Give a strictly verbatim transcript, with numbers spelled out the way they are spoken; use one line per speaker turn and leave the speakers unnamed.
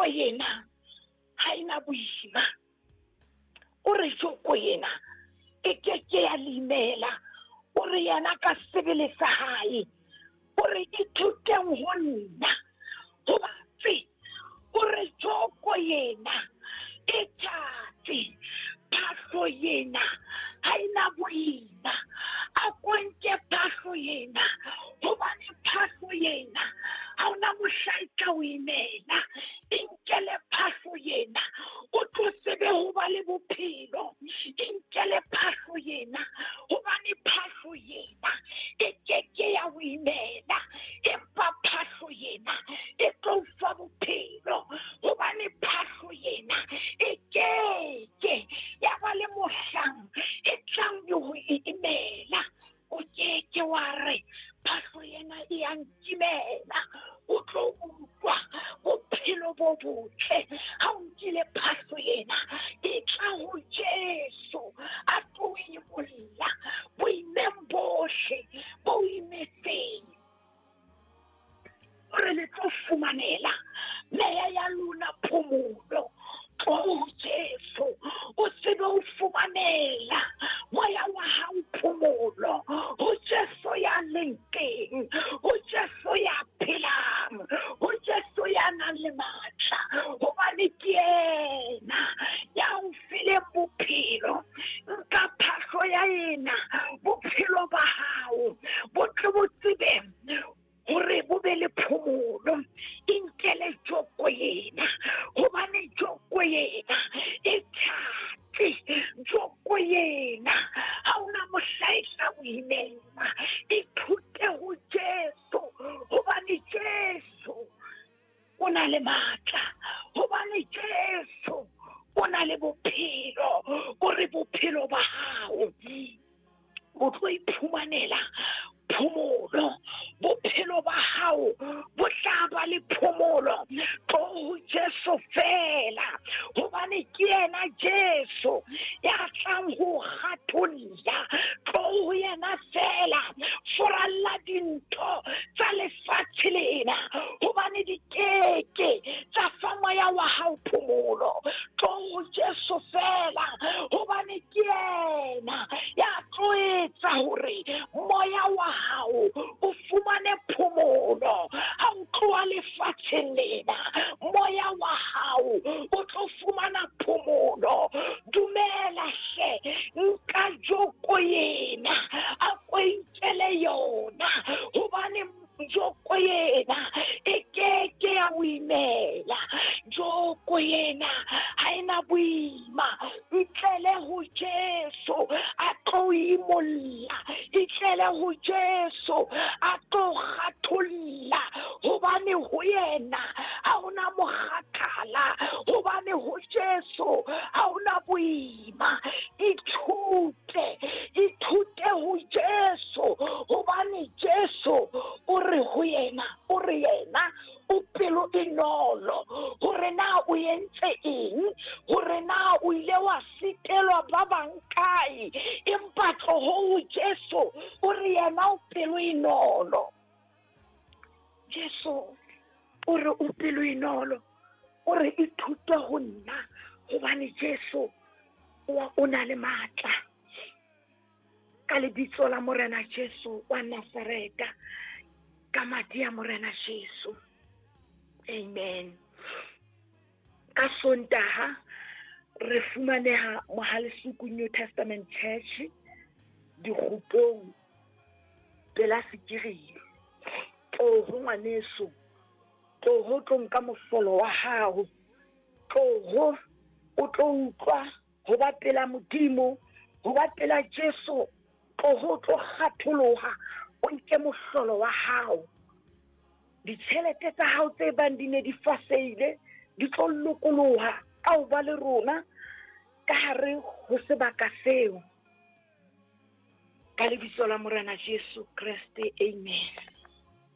Joko yena ha ena boima. O re joko yena e keke ya limela. O re yena ka sebele sa hae. O re ithuteng ho nna. Hoba tse o re joko yena e tjhatsi. Phahlo yena ha ena boima. A ko nke phahlo yena hobane phahlo yena ha ona mohla e tla o imela. Inkele phahlo yena o tlo tsebe ho ba le bophelo. Inkele phahlo yena hobane phahlo yena e keke ya o imela, empa phahlo yena e tlo o fa bophelo. Hobane phahlo yena e keke ya ba le mohlang e tlang ho imela. O keke wa re phahlo yena e ya nkimela. O tlo utlwa bophelo bo botle ha o nkile phahlo yena. E tla ho Jesu a tlo imolla boimeng bohle bo imetseng. O re le tlo fumanela meya ya lona phomolo. Tlo ho Jesu o tsebe ho fumanela moya wa hao phomolo. Ho Jesu ya leng teng, ho Jesu ya phelang, ho Jesu ya nang le matla. Hobane ke yena ya o fileng bophelo. Nka phahlo ya yena bophelo ba hao bo tle bo tsebe hore bo be le phomolo. Inkele joko yena hobane joko yena e tjhatsi. Joko yena ha ona mohla e tla o imela. Ithute ho Jesu hobane Jesu o na le matla. Hobane Jesu o na le bophelo. O re bophelo ba hao o tlo iphumanela phomolo. Bophelo ba hao bo tla ba le phomolo. Tlo ho Jesu fela hobane ke yena Jesu ya tlang ho kgatholla. Tlo ho yena fela. Furalla dintho tsa lefatshe lena hobane di keke tsa fa moya wa hao phomolo. Tlo ho Jesu fela hobane ke yena ya tlo etsa hore moya wa hao o fumane phomolo. Ha o tloha lefatsheng lena moya wa hao o tlo fumana phomolo. Dumela hle, nka joko yena a ko inkele yona hobane joko yena e keke ya o imela. Joko yena ha ena boima. Itlele ho Jesu a tlo imolla. Itlele ho Jesu a tlo kgatholla hobane ho yena ha ona mokgathala. Hobane ho Jesu ha ona boima. Ithute, ithute ho Jesu hobane Jesu o re ho yena, o re yena o pelo e nolo. Hore na o entse eng, hore na o ile wa sitelwa ba bang kae, empa tloho ho Jesu o re yena o pelo e nolo. Jesu o re o pelo e nolo. O re ithute ho nna hobane Jesu o na le matla. Ka lebitso la Morena Jesu wa Nazareta, ka madi a Morena Jesu. Amen. Ka Sontaha re fumaneha Mohalesuku New Testament Church dikgopong pela Sekiring. Tloho ngwaneso, tloho tlo nka mohlolo wa hao. Tloho o tlo utlwa ho ba pela Modimo, ho ba pela Jesu. Tloho tlo kgatholoha o nke mohlolo wa hao. Ditjhelete tsa hao tse bang di ne di faseile di tlo lokoloha ka ho ba le rona ka hare ho sebaka seo. Ka lebitso la Morena Jesu Kreste, amen.